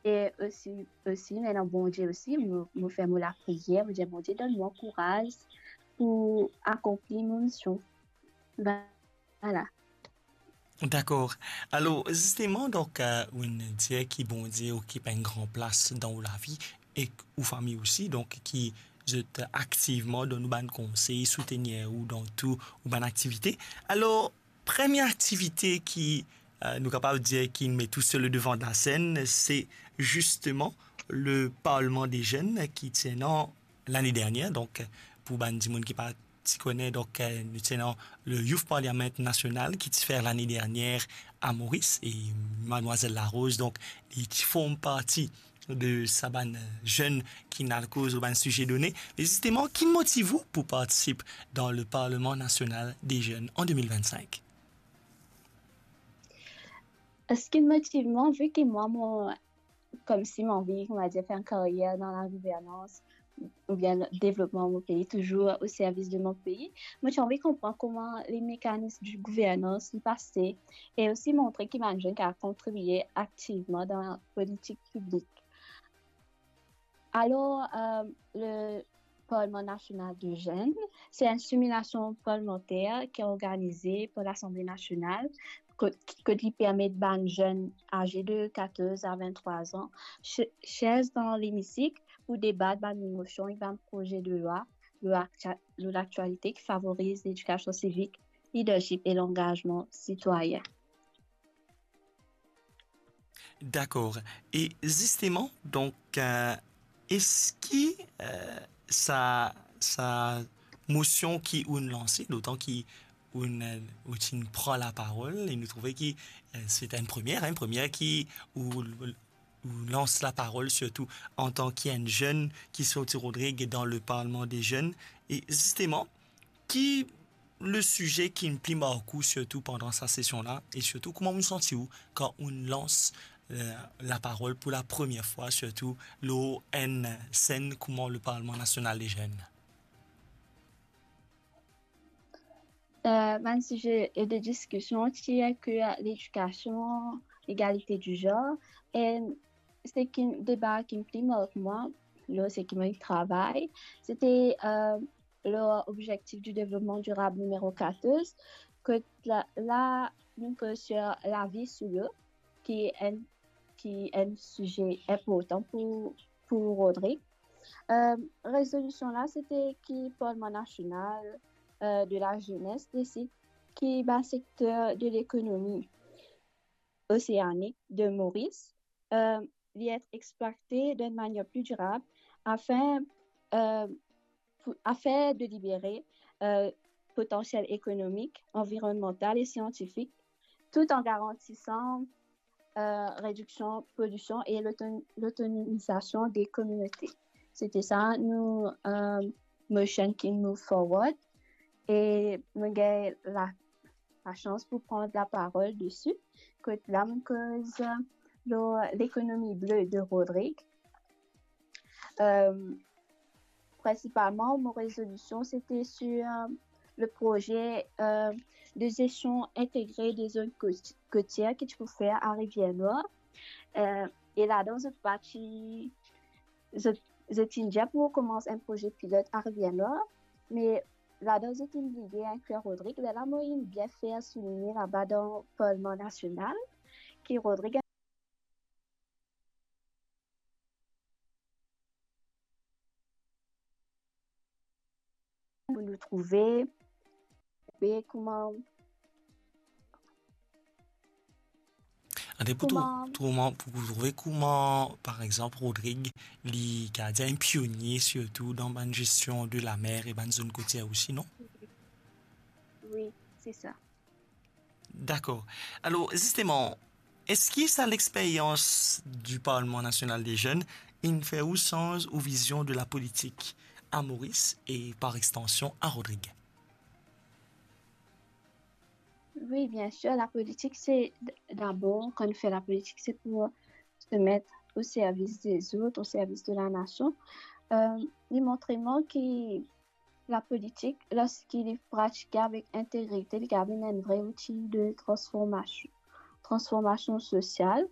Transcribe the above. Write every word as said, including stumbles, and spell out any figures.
E osi, osi, mo ena Bondie osi, mo, mo fer mo lapriyer, mo dir, "Bondie, donn mwa kouraz pou akonpli mo mision." Vwala. Dakor. Alor, zisteman, donk, eh, ou'nn dir ki Bondie okip enn gran plas dan ou lavi ek ou fami osi, donk, ki zot aktivman donn ou bann konsey, soutenir ou dan tou ou bann aktivite. Alor, premie aktivite ki, eh, nou kapav dir ki met ou sir le devan de la senn, se zisteman le Parlement des Jeunes ki ti ena lane dernier. Donk, pou bann dimoun ki pa ti kone, donk, eh, nou ti ena le Youth Parliament National ki ti fer lane dernier a Moris, e Madmwazel Larose, donk, li ti form parti de sa bann, eh, zenn ki'nn al koz lor bann size done. Me zisteman, ki motiv ou pou partisip dan le Parlement National des Jeunes an de mil vennsink? Seki motiv mwa, vi ki mwa, mo, koumsi mo anvi, on va dire, fer enn karyer dan lagouvernans oubien devlopman mo pei, touzour o servis de mo pei. Mo ti anvi konpran kouma le mekanis de gouvernans li pase, e osi montre ki bann zenn kapav kontribie aktivman dan politik piblik. Alor, eh, le Parlement National des Jeunes, se enn similasion parlemanter ki organize par Lasanble Nasional, kot, kot li permet bann zenn aze de katorz a venntrwa an, si-, siez dan lemisik pou debat bann mosion e bann proze de lwa lor aktia-, lor laktialite ki favoriz ledikasion sivik, lidership e langazman sitwayin. Dakor. E zisteman, donk, eh, eski, eh, sa, sa mosion ki ou'nn lanse, letan ki ou'nn, eh, ou ti'nn pran laparol, e nou trouve ki, eh, se enn premie, enn premie ki ou, ou lans laparol, sirtou antan ki enn zenn ki sorti Rodrig dan le Parlement des Jeunes. E zisteman, ki le size ki'nn pli mark ou, sirtou pandan sa sesion la, e sirtou kouma ou santi ou kan ou'nn lans, eh, laparol pou lapremier fwa, sirtou lor enn senn kouma le Parlement National des Jeunes? Eh, bann size de diskision ti inklwir ledikasion, legalite di zanr, e seki, deba ki pli mark mwa, lor seki mo travay, se ti, eh, lor Objectif du Développement Durable nimero katorz, kot la, la, nou koz sir lavi sou lo, ki enn, ki enn size inportan pou, pou Rodrig. Eh, rezolision la, se ti ki Parlement National, eh, de la Jeunesse desid ki bann sekter de lekonomi oseanik de Moris, eh, li et exploite dan enn manier pli dirab, afin, eh, pou, afin de libere, eh, potansiel ekonomik, anvironmantal e siantifik, tout an garantisan, eh, rediksion polision e loto-, lotonomizasion de kominote. Se ti sa nou, eh, motion ki move forward, e mo gagn la, lasans pou pran laparol desi, kot la mo koz lor lekonomi ble de Rodrig. Eh, prinsipalman, mo rezolision, se ti sir, eh, le proze, eh, de jestion integre de zonn kot-, kotier ki ti pou fer a Rivière Noire. Eh, e ladan, zot pa ti, zot, zot ti dir pou koumans enn proze pilot a Rivière Noire, me ladan, zot ti bliye inklwir Rodrig. Lerla mo inn bien fer souligne laba dan Parlement National ki Rodrig pou nou trouve, e kouma, ante pou trou-, kouma, trouve, pou trouve kouma, par exanp, Rodrig, li gard enn pionie, sirtou dan bann jestion de lamer e bann zonn kotier osi, non? Wi, se sa. Dakor. Alor, zisteman, eski sa lexperyans di Parlement National des Jeunes inn fer ou sanz ou vizion de lapolitik a Moris e par extension a Rodrig? Wi, bien sir, lapolitik, se d-, dabor, kan nou fer lapolitik, se pou se met o servis dezot, o servis de lanasion. Eh, li montre mwa ki lapolitik, lorski li pratike avek integrite, li kapav vinn enn vre outi de transformasion, transformasion sosial.